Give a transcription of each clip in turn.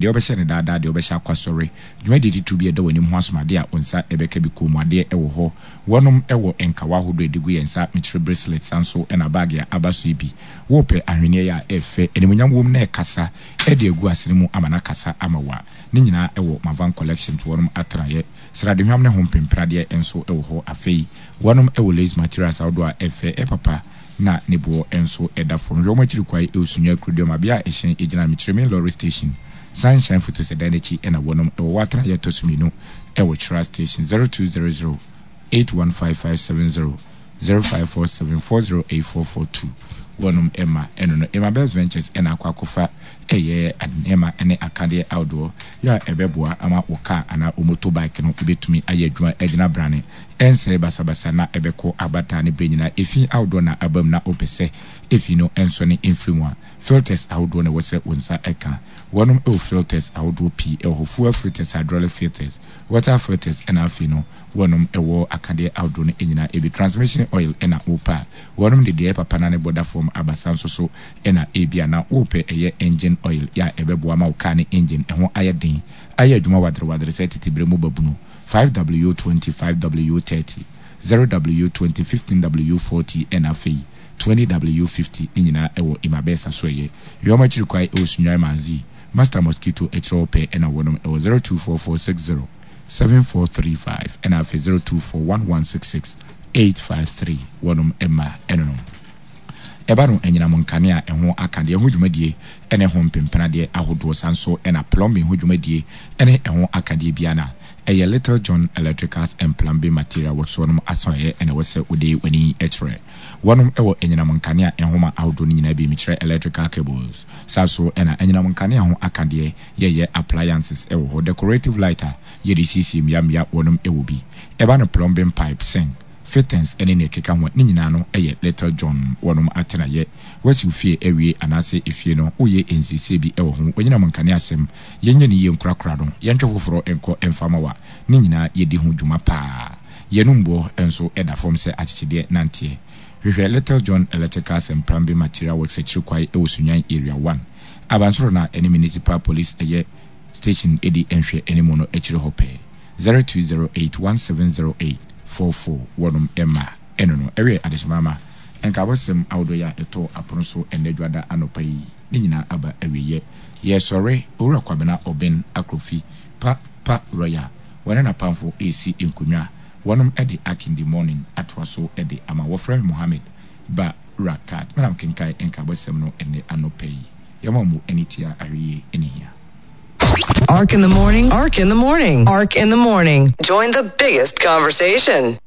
Deɛ wobɛhyɛ no daadaa, deɛ wobɛhyɛ akɔ asɔre, dwumadie titiriw bi a ɛda w'anim ho asomadeɛ a wo nsa bɛka bi, kɔnmuadeɛ wɔ hɔ. Wɔnom wɔ nkawa ahodoɔ a ɛde gu yɛn nsa, mekyerɛ bracelet, saa nso na baage a aba so yi bi. Worepɛ ahweneɛ yi a ɛyɛ fɛ, animuonyam wom na ɛkasa de agu asene mu ama no akasa ama wo a, ne nyinaa wɔ Mavan Collections, wɔnom atenaeɛ. Sradehwam ne ho mpempradeɛ nso wɔ hɔ. Afei, wɔnom wɔ lace materials ahodoɔ a ɛyɛ fɛ, ɛyɛ papa na ne boɔ nso da fam. Hwɛ wɔn akyiri kwae wɔ Sunyani Kuroduam, bea a ɛhyɛn gyina no, Mekyerɛ Main Lorry Station, Sunshine Fotosɛ dan no akyi na wɔnom wɔ. Wɔ atenaeɛ a ɛtɔ so mmienu wɔ Kyira Station, 0200 815570, 0547 408442. Wɔnom ma ɛno no. Emma Best Ventures na akɔ akɔfa ɛyɛ nneɛma ne akadeɛ ahodoɔ yɛ a ɛbɛboa ama wo car anaa wo motor bike no bɛtumi ayɛ adwuma agyina brane, ɛnsɛe basabasa na ɛbɛkɔ aba daa ne berɛ nyinaa. Efi ahodoɔ na aba mu na wopɛ sɛ efi no nsɔne mfiri mu a, filters ahodoɔ na ɛwɔ sɛ wo nsa ka. Wɔnom wɔ filters ahodoɔ pii wɔ hɔ, fuel filters, hydraulic filters, water filters ɛna afei no wɔnom wɔ akadeɛ ahodoɔ no nyinaa bi. Transmission oil na wopɛ a, wɔnom de deɛ ɛyɛ papa na ne bɔ da fam aba. Saa nso so na ebia na wopɛ ɛyɛ engine oil yɛ a ɛbɛboa ama wo car ne engine ɛho ayɛ den ayɛ adwuma wadere wadere sɛ tete berɛ mu babunu, 5W20, 5W30, 0W20, 15W40 ɛna afei 20W50 ne nyinaa ɛwɔ Imabɛsa so ɛyɛ Yɔm akyiri kwae ɛwɔ Sunyani Manzi Master Mosquito akyire hɔ pɛɛ ɛna wɔnom ɛwɔ 024460 7435 ɛna afei 0241166853 wɔnom ɛma ɛnonom. Ɛba no anyinam nkanea a ɛho aka deɛ ho dwumadie ne ɛho mpempenadeɛ ahodoɔ saa nso na plumbing ho dwumadie ne ɛho akadeɛ biara no a ɛyɛ Little John Electricals and Plumbing Material Works wɔnom asoɛeɛ na ɛwɔ sɛ wode w'ani kyerɛ. Wɔnom wɔ anyinam nkanea nhoma ahodoɔ no nyinaa bi mekyerɛ electrical cables saa nso na anyinam nkanea ho akadeɛ yɛyɛ appliances wɔ hɔ decorative light a yɛde siesie mmea mmea wɔnom wɔ bi. Ɛba no plumbing pipe, sink, Fittings ne nea ɛkeka ho a, ne nyinaa no yɛ Little John wɔnom atenaeɛ. Woasi wo fie awie anaasɛ efie no woyɛ nsiesie bi wɔ ho, wanyinam nkanea asɛm, yɛnyɛ no yie nkorakora no, yɛntwe foforɔ nkɔ mfa ma wo a, ne nyinaa yɛdi ho dwuma paa. Yɛn mboɔ nso da fam sɛ akyekyedeɛ nanteɛ. Hwehwɛ Little John Electricals and Plumbing Material Works akyiri kwae wɔ Sunyani Area One, abansoro no a ɛne Municipal Police ɛyɛ station di nhwɛ animu no akyiri hɔ pɛɛ. 0208170844 wɔnom mma ɛno no ɛwɛ adehyema ama nkaabɔsɛm ahodoɔ yi a ɛtɔɔ apono so ɛnnɛ dwada anɔpa yi ne nyinaa aba awieɛ. Yɛresɔre Owura Kwabena Oben Akrofi Pa Pa Royal wɔne n'apamfo resi nkonnwa wɔnom de Akindi Morning atoa so de ama. Wɔfrɛ me Mohammed Ba Rakat me na mekenkan nkaabɔsɛm no ɛnnɛ anɔpa yi. Yɛma mo ani tia ahwɛyie ne hia. Ark in the morning, Ark in the morning, Ark in the morning. Join the biggest conversation.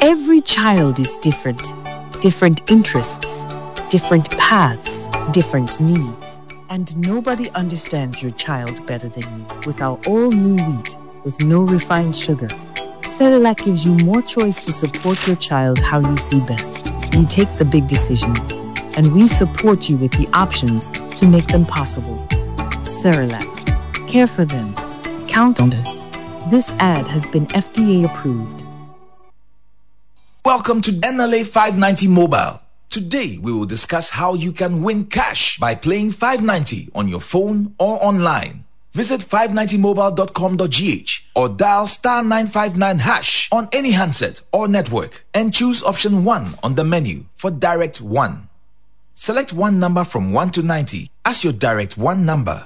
Every child is different. Different interests, different paths, different needs. And nobody understands your child better than you. With our all new wheat, with no refined sugar, Cerelac gives you more choice to support your child how you see best. We take the big decisions, and we support you with the options to make them possible. Cerelac. Care for them. Count on us. This ad has been FDA approved. Welcome to NLA 590 Mobile. Today, we will discuss how you can win cash by playing 590 on your phone or online. Visit 590mobile.com.gh or dial star 959 hash on any handset or network and choose option 1 on the menu for direct 1. Select one number from 1 to 90 as your direct 1 number.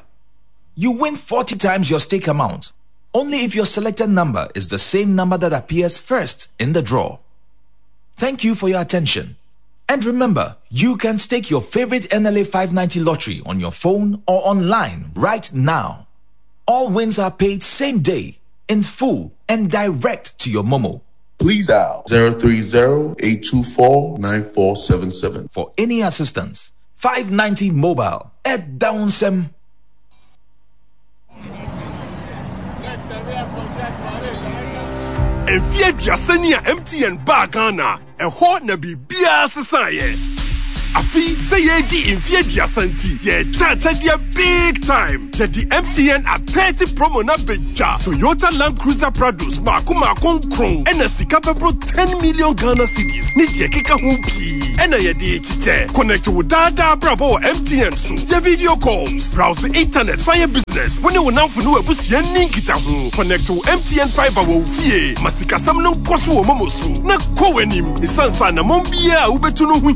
You win 40 times your stake amount only if your selected number is the same number that appears first in the draw. Thank you for your attention. And remember, you can stake your favorite NLA 590 lottery on your phone or online right now. All wins are paid same day, in full, and direct to your Momo. Please dial 030 824 9477. For any assistance, 590 Mobile at Downsem. Mfeɛ aduasa ni a MTN baa Ghana, ɛhɔ na biribiara sesaeɛ. Afe sɛ yɛredi mfeɛ aduasa nti, yɛrekyɛ akyɛdeɛ big time. Yɛde MTN at 30 promo no abɛdwa. Toyota Land Cruiser Prados mmaako mmaako nkron ɛna sika bɛboro 10 million Ghana cedis ne deɛ ɛkeka ho pii. ɛna yɛde rekyekyɛ. Connect wo daa daa abrabɔ wɔ MTN so. Yɛ video calls, browse internet fa yɛ business, wo ne wo nnamfo ne w'abusua nni nkitaho. Connect wo MTN fibre wɔ wo fie. Ma sikasɛm no nkɔ so wɔ momo so na kɔ w'anim. Esiane sɛ anammɔn biara a wubetu no ho hia.